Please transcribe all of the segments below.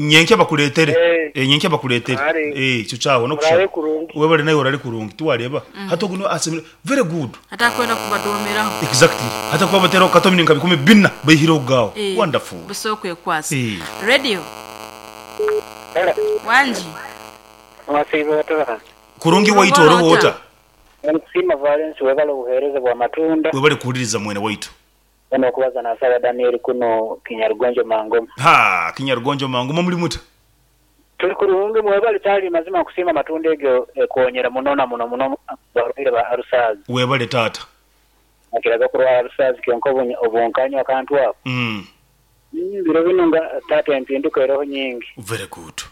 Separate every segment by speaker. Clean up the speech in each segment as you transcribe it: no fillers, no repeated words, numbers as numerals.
Speaker 1: Nyenkya bakureetere.
Speaker 2: Eh.
Speaker 1: Eh, nyenkya bakureetere.
Speaker 2: Kare.
Speaker 1: Eh, ekyo kyahwa
Speaker 2: Muraare
Speaker 1: n'okushaba.
Speaker 2: kurungi.
Speaker 1: Webale naiwe orare kurungi. Tiwareeba? Hati ogu niwe asemire. Very good.
Speaker 3: Atakwenda kubadoomeraho.
Speaker 1: Exactly. Hati akuba abateeraho katomi nka 4000 baihireho gaawo.
Speaker 3: Eh,
Speaker 1: Wonderful.
Speaker 3: busa okwekwasa.
Speaker 1: Eh.
Speaker 3: Radio.
Speaker 2: Hello.
Speaker 3: Wangi.
Speaker 2: Mwasiiba ota?
Speaker 1: Kurungi waitu
Speaker 3: Kurungi
Speaker 1: oriho
Speaker 3: ota?
Speaker 1: ota?
Speaker 2: Nikusiima Valens webale obuheereza bwa matunda.
Speaker 1: Webale kuhuririza mwene waitu.
Speaker 2: Mbwenu okubaza nasaba Daniel kuno Kinyarugonjo Mangoma.
Speaker 1: Ha, Kinyarugonjo Mangoma muri muta?
Speaker 2: Turi kurungi mwebale kyali mazima nkusiima amatunda egyo ekonyera muno na muno muno abarwaire ba alusaazi.
Speaker 1: Webale taata.
Speaker 2: Nakiraga kurwara alusaazi kyonka obu nkanywa akantu ako. Biro binu nga taata empinduka eroho nyingi.
Speaker 1: Very good.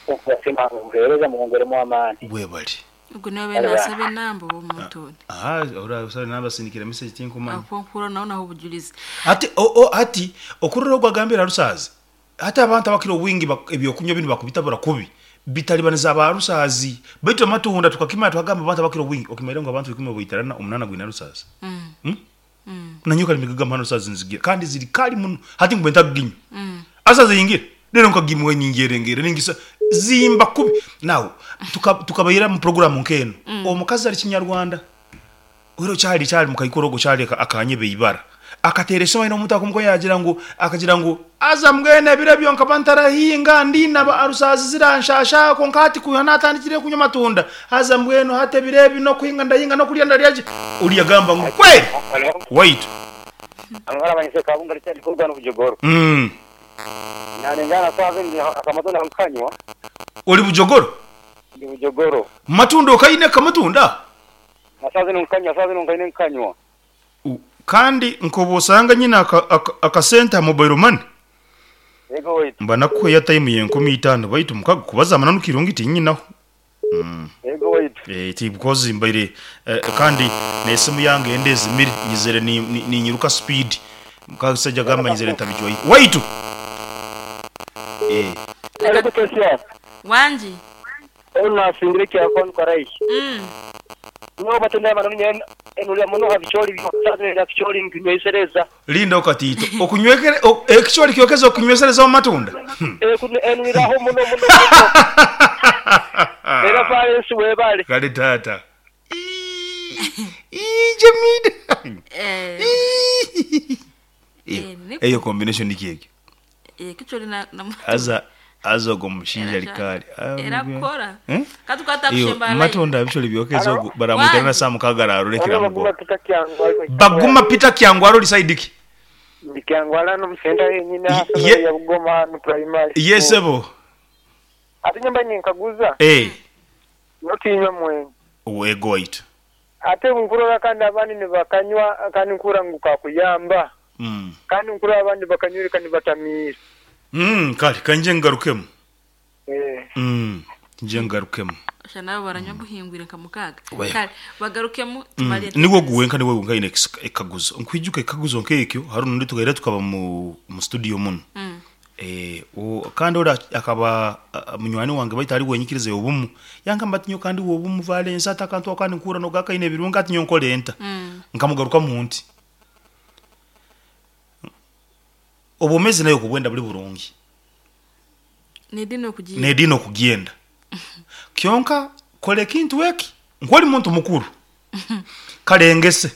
Speaker 2: Nkubasiima obuheereza mwongeremu amaani.
Speaker 1: Webale.
Speaker 3: Ogu niwe abaire naasaba enamba oba omuntu ondi?
Speaker 1: Aha, ora osaba enamba asindikire message tinkumanya.
Speaker 3: Ahakuba nkuhurira naho naha obujurizi.
Speaker 1: Hati o, o, hati okurora ogu agambire Alusaazi, hati abantu abakira obwingi ebyokunywa binu bakubitabura kubi bitalibaniza aba Alusaazi. Baitu amatunda tukakimanya twagamba abantu abakira obwingi okimaire ngu abantu ikumi baitarana omunana gwine Alusaazi. Mm. Nanyowe kare mbigaga Alusaazi nzigira kandi ziri kali muno hati ngu ntakuginywa. Alusaazi eyingira rero nkagimwa ningyerengere ningisa zimba kubi. Now tukabaira mu program nk'eno. Omukazi ari Kinyarwanda. Oiro kyali kyali mukaikuru ogwo kyali akanyeba eibara. Akateera esimu aine omuntu akumukoya yagira ngu akagira ngu aza mbwenu ebiro ebyo nkaba ntarahinga ndinaba arusazi ziranshasha kwonka hati kwiha natandikire kunywa amatunda haza mbwenu hati ebiro ebi n'okuhinga ndahinga n'okurya ndarya gye. Oriya agamba ngu kweri waitu.
Speaker 2: Amahoro Kabunga Richard Kurugano Bujogoro. Nalengana sawa ndi akamatunda nkanywa.
Speaker 1: Ori Bujogoro?
Speaker 2: Ndi Bujogoro.
Speaker 1: Matunda okaine kamatunda?
Speaker 2: Na sawa zino nkanywa, sawa zino nkaine nkanywa.
Speaker 1: Kandi nkoba osanga nyine akasente aha mobile money.
Speaker 2: Yego waitu.
Speaker 1: Mba nakuha airtime ye 5000 baitu mukago kubaza amananu kirungi tinyinaho.
Speaker 2: Yego waitu.
Speaker 1: Eh, ti because mbaire kandi n'esimu yange ende ezimire nyizire ninyiruka speed. Mukasaija gamba nyizire ntabijwaire. Waitu. Eh.
Speaker 2: Ariko Tesia.
Speaker 3: Wangi.
Speaker 2: Onu nasingire kyakon korai. Nyo batenda abantu nyen enulya muno habicholi byo bicholi nkinywesereza.
Speaker 1: Linda okatiito. Okunywekere ekicholi kyokeza okunywesereza omu matunda.
Speaker 2: Eh enuliraho muno muno. Era Valens webale.
Speaker 1: Kale taata. Ii Jamida.
Speaker 3: Eh,
Speaker 1: Eyo
Speaker 3: niko.
Speaker 1: eyo combination niki egyo?
Speaker 3: Ekicholi na na
Speaker 1: Haza haza ogwo mushaija
Speaker 3: Era
Speaker 1: ari kare.
Speaker 3: era kukora.
Speaker 1: Eh?
Speaker 3: Katukwata
Speaker 1: Iyo
Speaker 3: kushemba line.
Speaker 1: matunda bicholi byokeza ogu baramwitana na saa mukaga ararolekera mugo.
Speaker 2: Peter Kyangwa.
Speaker 1: Baguma Peter Kyangwa aroli side ki?
Speaker 2: Ndi Kyangwa hano musenta yenyine ya Bugoma hano primary.
Speaker 1: Yes sebo.
Speaker 2: Ate nyamba ninkaguza.
Speaker 1: Eh.
Speaker 2: Notinywa mwenye.
Speaker 1: Wego waitu.
Speaker 2: Ate nkurora kandi abandi nibakanywa kandi nkura ngu kakuyamba. Kandi nkura abandi bakanywire kandi batamiire.
Speaker 1: Kale kanje ngarukemu.
Speaker 2: Eh.
Speaker 1: Nje ngarukemu.
Speaker 3: Osha nabo baranywa buhingwire nka mukaga.
Speaker 1: Wego.
Speaker 3: Kale bagarukemu tumale.
Speaker 1: Niwe guwenka niwe wenka ine ekaguzo. Nkwijuka ekaguzo nk'ekyo hari undi tugaira tukaba mu studio muno. Eh, kandi ora akaba munywani wange baita ari wenyikirize obumu. Yangamba ati nyo kandi obumu Valens atakantu akandi nkura no gakaine ebirunga ati nyo nkole enta. Nkamugaruka mu nti. Obomezi nayo kubwenda buri burungi.
Speaker 3: Nedino okugienda.
Speaker 1: Nedino okugienda. Kyonka kole kintu eki nkwoli muntu mukuru. Kalengese.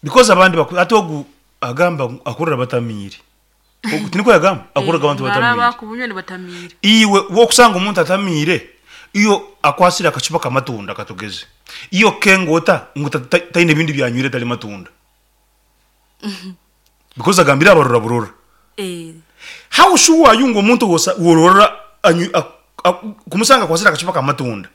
Speaker 1: Because abandi ate ogu agamba akurira batamiire. Ogu tiniko yagamba akurira abantu
Speaker 3: Baraba
Speaker 1: batamiire.
Speaker 3: kubunywa ni batamiire.
Speaker 1: Iwe wokusanga omuntu atamiire iyo akwasire akacupa kamatunda katugeze. Iyo kengota ngu taine ebindi byanywire tali matunda. Because agambire abarora burora.
Speaker 3: Eh.
Speaker 1: How sure are you ngu omuntu worora kumusanga akwasire akacupa kamatunda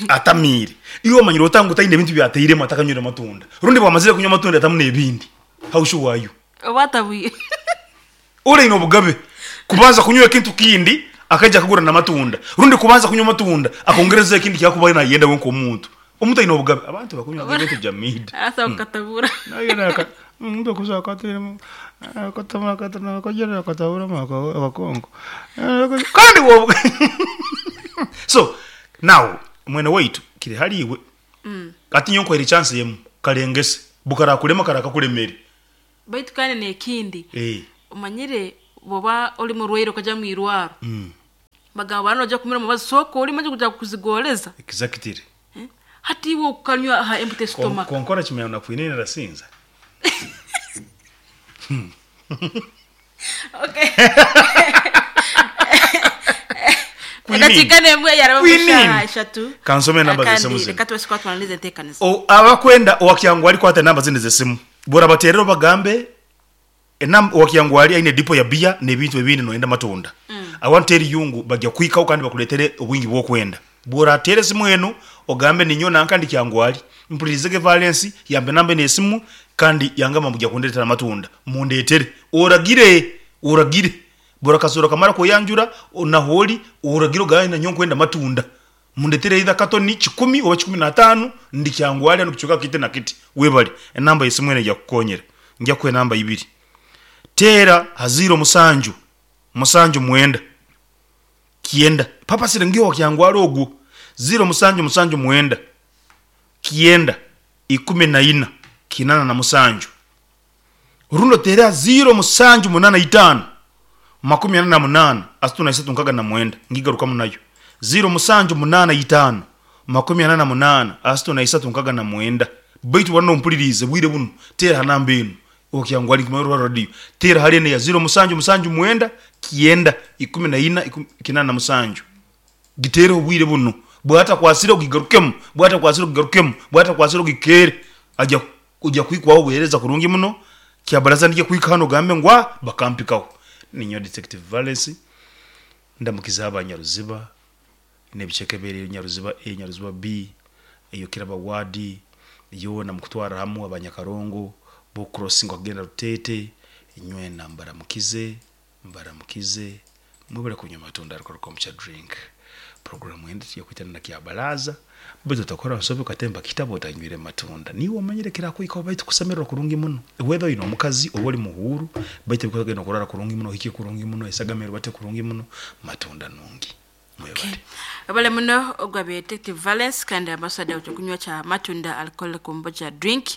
Speaker 1: atamiire. Iyo omanyire ota ngu taine ebintu byateiremu atakanywire matunda. Rundi bwamazire kunywa amatunda atamu n'ebindi. How sure are you?
Speaker 3: Oba atabwire.
Speaker 1: Ore obugabe kubanza kunywa ekintu kindi akaija akagura n'amatunda. Rundi kubanza kunywa amatunda akongereza ekindi kyakuba nayenda we nk'omuntu. Omuntu aine obugabe. Abantu bakunywa ebintu jamida.
Speaker 3: Asa kukatabura.
Speaker 1: Naye naka mtu kuza akatiremu akatama akatama akajera akatabura akakongo. Kandi wo So now mwene waitu kiri haliwe. Ati nyonko eri chance yemu kalengese bukara kulema kara kakulemere.
Speaker 3: Baitu kandi nekindi.
Speaker 1: Eh.
Speaker 3: Omanyire bwoba oli murwaire okaja mu irwaro. Bagamba bana ojja kumira omubazi sooka olime kuja kuzigoreza.
Speaker 1: Exactly.
Speaker 3: Hati iwe okukanywa aha empty stomach.
Speaker 1: Konkora kimenya nakwine narasinza.
Speaker 3: Okay.
Speaker 1: Quinine.
Speaker 3: Edakika nemwe yaraba
Speaker 1: Quinine.
Speaker 3: kushaha eshatu.
Speaker 1: Kansome enamba
Speaker 3: Kandi
Speaker 1: z'esimu zino.
Speaker 3: Reka tubase kuba tumaliriza enteekaniza.
Speaker 1: Abakwenda owakyangwali kwata enamba zindi z'esimu burabaterera obagambe owakyangwali aine dipo ya biya n'ebintu ebindi noyenda matunda. I want tell you ngu bajja kwikaho kandi bakuletere obwingi bw'okwenda. Bw'orateera esimu enu ogambe ninyo nanka ndi Kyangwali mpuririzege Valence yampa enamba enu esimu kandi yangamba mbu ojja kundeetera amatunda mundeetere oragire oragire buri kamara kweyanjura nahu ori oragire ogambe nanyowe nkwenda amatunda mundeetere either katoni 100 oba 15 ndi Kyangwali hanu kicweka kiti na kiti webare enamba y'esimu enu ejja kukukonyera nja kukuha enamba ibiri teera ha 07 79 9 papasire ngiho wakyangwali ogwo 0779 9 14 87 rundi oteere ha 0785 48 33 69 ngigarukamu nayo 0785 48 33 69 baitu bwana ompulirize bwire buno teera ha namba enu okyangwali nkimanyi rwa radio teera hali enu ya 0779 9 14 87 giteereho obwire buno bwatakwasire ogigarukemu bwatakwasire ogigarukemu bwatakwasire ogikeere aja ojja kwikwaho obuheereza kurungi muno kyabaraza ndije kwika hano ogambe ngu bakampikaho. Ninyowe Detective Valence ndamukiza abanyaruziba n'ebicweka ebiri Nyaruziba A Nyaruziba B eyo Kiraba ward yoona mukutwarra hamu abanyakarongo bo crossing okugenda Ruteete nywena mbaramukize mbaramukize mwebale kunywa amatunda alcohol kombucha drink. Program endi tuja na kyabaraza baitu otakora nsobi okatemba kitabo otanywire matunda niiwe omanyire kirakwikaho baitu kusemererwa kurungi muno whether oine omukazi oba ori muhuuru baitu ebikugenda kurara kurungi muno ohike kurungi muno esagama erubate kurungi muno matunda nungi mwebale.
Speaker 3: Webale muno ogwa Detective Valence kandi ambassador w'ekyokunywa kya Matunda Alcohol Kombucha Drink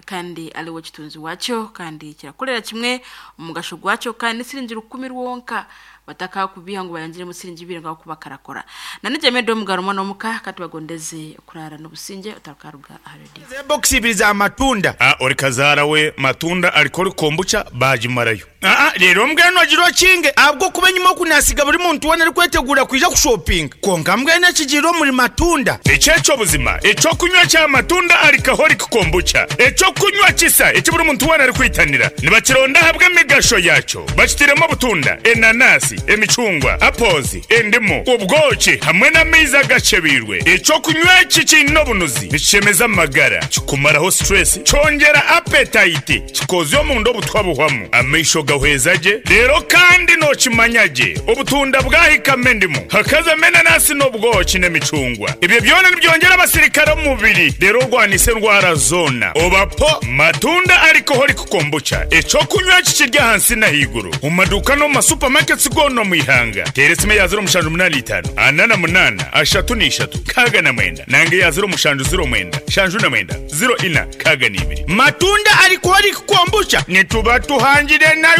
Speaker 3: kandi aliwo kitunzi wakyo kandi kirakorera kimwe omugasho gwakyo kandi siringi 10 rwonka batakakubiha ngu bayangiremu siringi 2 ngaho kuba karakora. Nanije medo omugaro mwana omuka katubagondeze kurara n'obusinge otakaruga aha radio.
Speaker 4: Box ibiri za matunda.
Speaker 5: Ori kazaara we matunda alcohol kombucha bagimarayo.
Speaker 4: Rero mbwenu ogira okinge ahabw'okuba enyima okunasiga buri muntu weena arikwetegura kwija kushopinga konka mbwenu ekigiire omuri matunda.
Speaker 5: Ekyekyo buzima ekyokunywa kya matunda alcoholic kombucha ekyokunywa kisa eki buri muntu weena arikwitanira nibakironda ahabw'emigasho yakyo bakitiremu obutunda enanasi emicungwa apples endimu obwoki hamwe n'amaizi agacebiirwe. Ekyokunywa eki kiine obunuzi nikishemeza amagara kikumaraho stress kyongera appetite kikozya omunda obutwa buhwamu amaisho gahweza gye rero kandi nokimanya gye obutunda bwahikamo endimu hakazamo enanasi n'obwoki n'emicungwa ebyo byona nibyongera abasirikare omu mubiri rero orwanisa endwara zoona obapo matunda alcoholic kombucha ekyokunywa kikiri ahansi n'ahaiguru omu maduuka n'omu masupamaketi goona omu ihanga. Teera esimu eya 0785 48 33 69 nange eya 0709 79 04 62.
Speaker 4: Matunda alcoholic kombucha nituba tuhangire nayo.